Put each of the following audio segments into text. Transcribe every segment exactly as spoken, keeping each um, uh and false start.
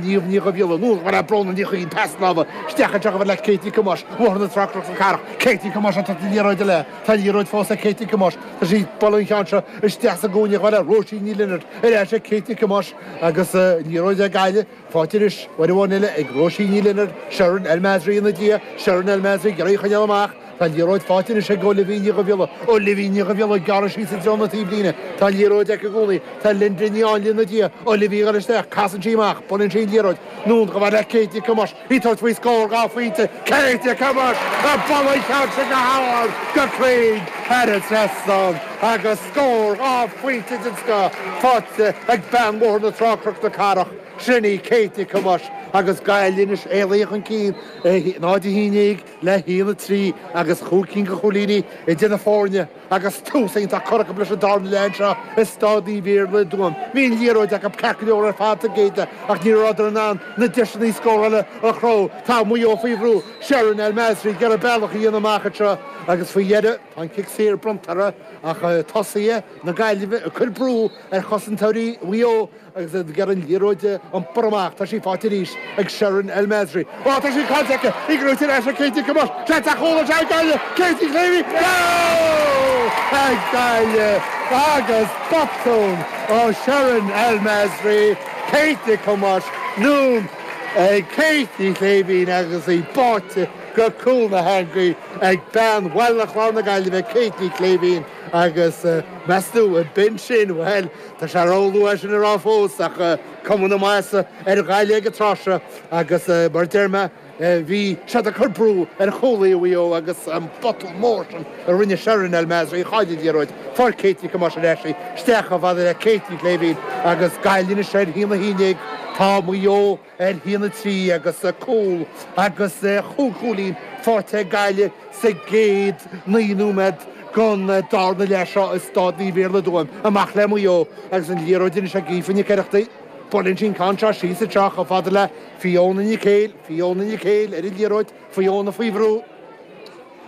Niamh Ní Dhubhghiolla, anonn chomh fada le Bróna Ní Chuinn, pas láimhe isteach anseo chomh fada le Kate Nic Thomáis, Bóthar na Trá Cnoc na Cathrach, Kate Nic Thomáis ag tabhairt na liathróide léi, tá an liathróid fós ag Kate Nic Thomáis, tá sí ag bualadh an cheann seo isteach sa gcúinne chomh fada le Róisín Ní Lionáird, ar ais ag Kate Nic Thomáis agus an liathróid ag Gaillimh, faighte arís uair amháin eile ag Róisín Ní Lionáird, Sharon El Masri ina diaidh, Sharon El Masri ag iarraidh í a choinneáil amach, tá an liathróid faighte anois ag Olivia Ní Dhubhghiolla, Olivia Ní Dhubhghiolla ag gearradh síos i dtreo na taobhlíne, tá an liathróid aici i gcónaí, tá Linda Ní Áinle ina diaidh, Olivia ag dul isteach, casann sí amach, buaileann sí an liathróid, anonn chomh fada le Kate Nic Thomáis, í ag tabhairt faoi scór dhá phointe, Kate Nic Thomáis ag bualadh an cheann sin go hard, go cruinn thar an trasnán agus scór dhá phointe den scoth faighte ag bean Bhóthar na Trá Cnoc na Cathrach, sin í Kate Nic Thomáis agus Gaillimh anois éalaithe chun cinn, náid a haon déag le haon a trí agus chúig cinn de chúilíní idir na foirne agus tús iontach curtha acu leis an darna leath anseo i Staid Naomh Iarlaith i dTuaim. Bhí an liathróid acu ceart go leor ar fad sa gcéad leath ach ní rabhadar in ann na deiseanna scórála a chruthú. Tá Maigh Eo faoi bhrú, Sharon El Masri ag iarraidh bealach a dhéanamh amach anseo agus faoi dheireadh tá an cic saor bronnta uirthi ach tosaithe na Gaillimhe ag cur brú ar chosantóirí Mhaigh Eo agus iad ag iarraidh an liathróid a iompar amach. Tá sí faighte arís ag Sharon El Masri. Ó, tá sí caillte aici! Í gnóite ar ais ag Kate Nic Thomáis. Seans ar chúl anseo ag Gaillimh! Kate Ní Chléibhín! Cúl ag Gaillimh agus botún ó Sharon El Masri. Kate Nic Thomáis anonn ag Kate Ní Chléibhín agus í báite go cúl na heangaí ag bean Bhaile Chláir na Gaillimhe, Kate Ní Chléibhín agus meas tú an b'in sin, bhuel, tá sé róluath sin a rá fós ach cuma na maitheasa ar Ghaillimh ag an tráth seo agus mar a deir mé, bhí siad ag cur brú ar chúlaí Mhaigh Eo agus an botún mór sin a rinne Sharon El Masri, chaill an liathróid, fuair Kate Nic Thomáis ar ais í, isteach chomh fada le Kate Ní Chléibhín agus Gaillimh anois ar haon a haon déag, tá Maigh Eo ar haon a trí agus cúl agus chúig chúilín faighte ag Gaillimh sa gcéad naoi nóiméad den darna leath seo i Staid Naomh Iarlaith i dTuaim. Amach le Maigh Eo agus an liathróid anois ag Aoife Nic Oireachtaigh. Buaileann sí an ceann seo síos anseo chomh fada le Fiona Nic Héil. Fiona Nic Héil ar an liathróid. Fiona faoi bhrú.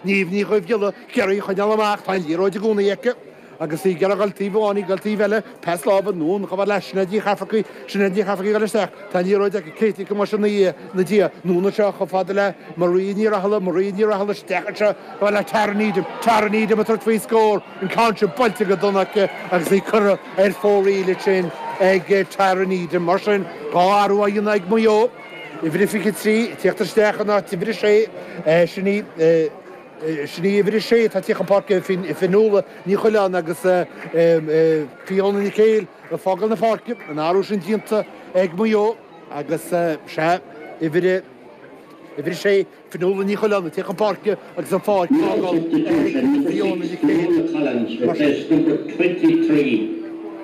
Niamh Ní Dhuibhghiolla ag iarraidh í a choinneáil amach. Tá an liathróid i gcónaí aici. Agus í ag iarraidh dul taobh amháin, í ag dul taobh eile, pas láimhe anonn chomh fada le Sinéad Ní Chafarcaigh, Sinéad Ní Chafarcaigh ag dul isteach, tá an liathróid aici, Kate Nic Thomáis ina diaidh, anonn anseo chomh fada le Maria Ní Rathaille, Maria Ní Rathaille isteach anseo chomh fada le Tara Needham, Tara Needham ag tabhairt faoi scór, an ceann sin buailte go dona aici agus í curtha ar fóraoil ansin ag Tara Needham. Mar sin, dhá athrú á dhéanamh ag Maigh Eo, uimhir a fiche trí ag tíocht isteach in áit uimhir a sé, sin í. Sin í uimhir a sé atá ag tíocht chun páirce, Fionnuala Ní Choileáin agus Fiona Nic Héil ag fágáil na páirce, an athrú sin déanta ag Maigh Eo agus sea, uimhir a sé, Fionnuala Ní Choileáin ag tíocht chun páirce agus an pháirc á fágáil ag Fiona Nic Héil. Mar sin.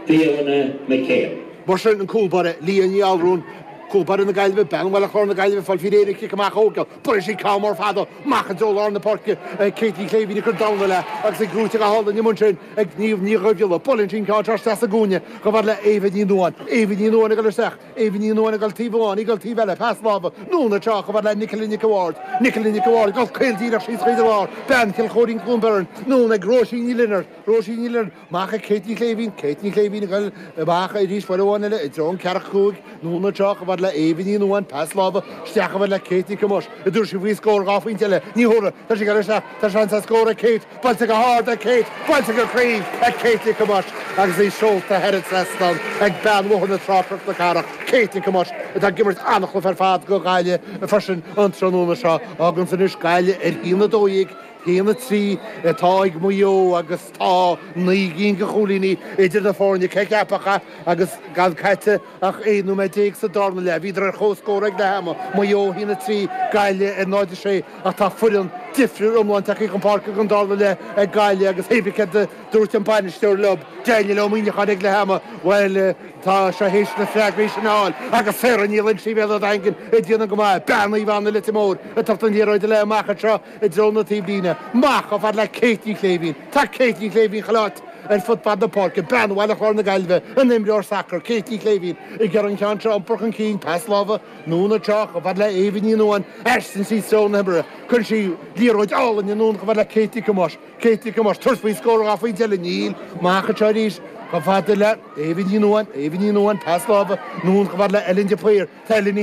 Fiona McHale. Mar sin, an cúl báire, Leah Ní Allrúin, cúl báire na Gaillimhe, bean Bhaile Chláir na Gaillimhe, ag fáil faoi réir an cic amach a thógáil. Buaileann sí ceann mór fada amach i dtreo lár na páirce ag Kate Ní Chléibhín ag cur damhna léi agus í gnóite go hálainn amuigh ansin ag Niamh Ní Dhuibhghiolla. Buaileann sí an ceann seo isteach sa gcúinne chomh fada le Éabha Ní Nuadháin. Éabha Ní Nuadháin ag dul isteach. Éabha Ní Nuadháin ag dul taobh amháin, í ag dul taobh eile. Pas láimhe anonn anseo chomh fada le Nicola Nic a' Bhaird. Nicola Nic a' Bhaird ag dul caol díreach síos chuig an lár. Bean Chill Chóirín Cluain Bheirn. Anonn ag Róisín Ní Lionáird. Róisín Ní Lionáird. Amach ag Kate Ní Chléibhín, Kate Ní Chléibhín ag dul amach arís uair amháin eile i dtreo an ceathracha cúig, anonn anseo chomh fada le Éabha Ní Nuadháin, pas láimhe isteach chomh fada le Kate Nic Thomáis, an dtabharfaidh sí faoi scór dhá phointe eile, ní thabharfaidh, tá sí ag dul isteach, tá seans ar scór ag Kate, buailte go hard ag Kate, buailte go cruinn ag Kate Nic Thomáis agus í seolta thar an trasnán ag bean Bhóthar na Trá Cnoc na Cathrach, Kate Nic Thomáis atá ag imirt an-chluiche ar fad do Ghaillimh freisin an tráthnóna seo. Fágann sin anois Gaillimh ar a haon a dó dhéag. haon a trí atá ag Maigh Eo agus tá naoi gcinn de chúilíní idir na foirne, cé a cheapfadh é agus gan caite ach aon nóiméad déag sa darna leath. Bhíodar ar comhscór ag leath ama, Maigh Eo a haon a trí, Gaillimh ar náid a sé ach tá foireann difriúil iomlán tagtha chun páirce don darna leath ag Gaillimh agus hé bí céard a dúirt an bainisteoir leo, Daniel Ó Muíneacháin ag leath ama, bhuel tá sé théis na freagraí sin a fháil agus Sarah Ní Loingsigh Bhéal Átha Daingin ag déanamh go maith, bean Naomh Anna Leitir Móir ag tabhairt an liathróid léi amach anseo. i dtreo na taobhlíne. Amach chomh fada le Kate Ní Chléibhín. Tá Kate Ní Chléibhín chuile áit ar fud fad na páirce. Bean Bhaile Chláir na Gaillimhe, an imreoir sacair, Kate Ní Chléibhín, ag iarraidh an ceann seo a iompar chun cinn. Pas láimhe anonn anseo chomh fada le Éabha Ní Nuadháin. Aistríonn sí i dtreo na himeartha. Cuireann sí liathróid álainn anonn chomh fada le Kate Nic Thomáis. Kate Nic Thomáis, tabhairt faoi scór dhá phointe eile. Níl. Amach anseo arís chomh fada le Éabha Ní Nuadháin. Éabha Ní Nuadháin, pas láimhe anonn chomh fada le Ellen de Paor. Tá Ellen